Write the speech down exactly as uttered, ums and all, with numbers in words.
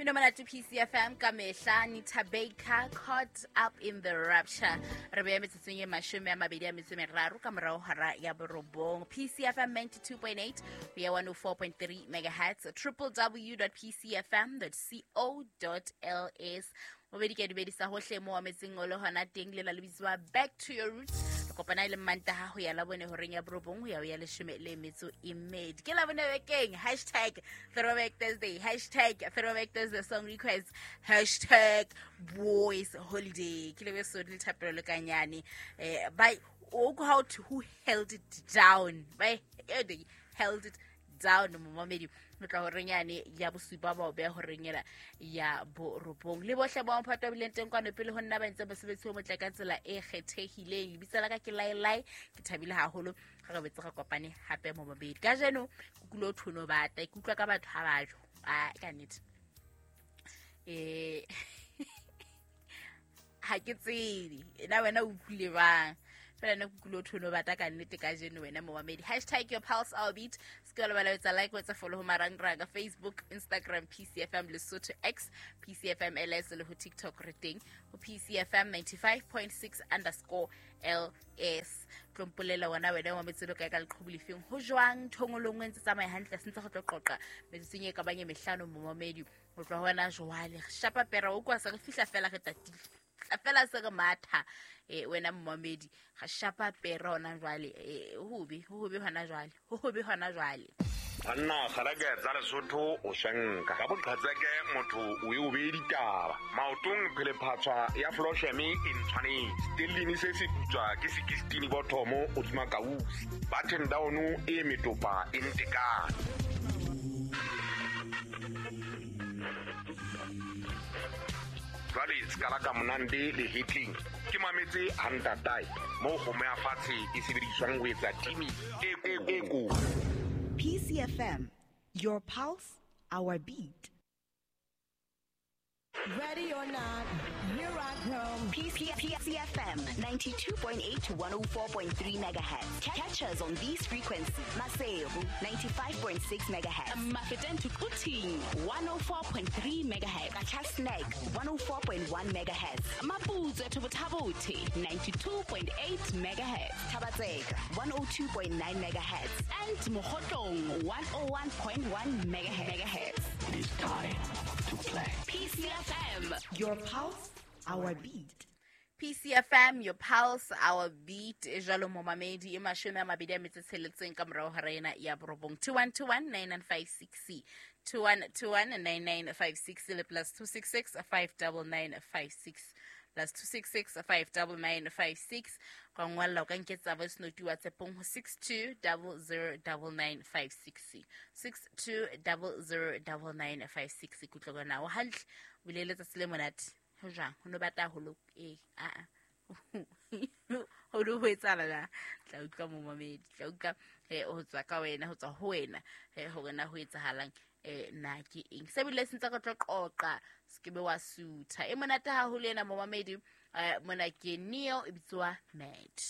Mmino monate P C F M ka mehla, Nita Baker, Caught Up in the Rapture. Re beya metsotsong e mashome a mabedi a metso e meraro ka morao hora ya borobong. P C F M ninety-two point eight, we are one oh four point three megahertz, triple w dot p c f m dot co dot l s. Mobedi ke dumedisa hohle mo ametseng o le hona teng le la le bitswa Back to Your Roots. Kopana ile Mantaha ho ya labone horeng ya borobong ho ya ho ya leshome le metso e mmedi. Ke labone bekeng, hashtag Throwback Thursday, hashtag Throwback Thursday song request, hashtag Boys Holiday. Ke lebe so le thapelo le kanyane. Eh, by how to who held it down. By they held it down momamedi. Re tla horeng yane ya bosupa ba o beha horeng ena ya borobong. Le bohle ba mphato bileng teng kwano pele ho nna ba ntse mosebetsi o motle ka tsela e kgethehileng. Lebitso la ka ke Lailai, ke thabile haholo ha re betse re kopane hape mo mabedi. Kajeno ke kulo thono bata, ke utlwa ka batho ha ba jo. Ah, ka nnete. Eh ha ke tsebe. Na wena o utlwile bang? Fela nna ke kulo thono bata ka nnete kajeno wena momamedi. Hashtag your pulse our beat. Se ke wa lebala ho etsa like, ho etsa follow ho marangrang a Facebook, Instagram, P C F M Lesotho X, P C F M L S le ho TikTok re teng ho P C F M ninety-five point six underscore L S. Tlo mpolela wena wena wa metselo kae ka leqhubu lefeng? Ho jwang thongolong e ntse tsamaya hantle, se ntse go tlo qoqa metsotsong e ka bang e mehlano momamedi. Ho tloha hona jwale re shapa pera o kwa se re fihla fela re tatile. Fela se re matha eh wena momamedi ga shapa pera hona jwale eh hobe hobe hona jwale hobe hona jwale. Banna kgareke tsa Lesotho o shanka ka boqhetseke motho o e o be ditaba maotong phele phatswa ya flosheme e ntshwanetse stellini se se putswa ke sixteen bottomo o tsuma kausi button down e metopa e ntekane. Jwale skala ka monande le hitling ke mametse hantatai mo go me afatshe e sebediswang ho etsa timi e e ko. P C F M, your pulse, our beat. Ready or not, here I come. P C F M ninety-two point eight to one oh four point three megahertz. Catch us on these frequencies. Maseru ninety-five point six megahertz. Mafeteng to Quthing one oh four point three megahertz. Qacha's Nek one oh four point one megahertz. Maputswe to Botha-Bothe ninety-two point eight megahertz. Thaba-Tseka one oh two point nine megahertz. And Mokhotlong one oh one point one megahertz. It is time to play. P C F M, your pulse, our beat. P C F M, your pulse, our beat. Jalo momamedi e mashome a mabedi a metso tsheletseng ka morao hora ena ya borobong. two one two one nine nine five six C. two one two one nine nine five six le plus two six six five nine nine five six. Plus two six six five nine nine five six. Ka ngwalla o ka nketsa voice note WhatsApp-ong ho six two zero zero nine nine five six C. six two zero zero nine nine five six. Ke utlwa na o hantle, o bile letsatsi le monate. Ho jwang? Ho no bata haholo? Eh, a a. Ho no ho etsahala na? Tla utlwa momamedi, tla utlwa eh ho tswa ka wena, ho tswa ho wena, eh hore na ho etsahalang, eh na ke eng. Se bile se ntse re tlo qoqa, se ke be wa sutha. E monate haholo ena momamedi, eh mona ke Neo e bitswa Mad.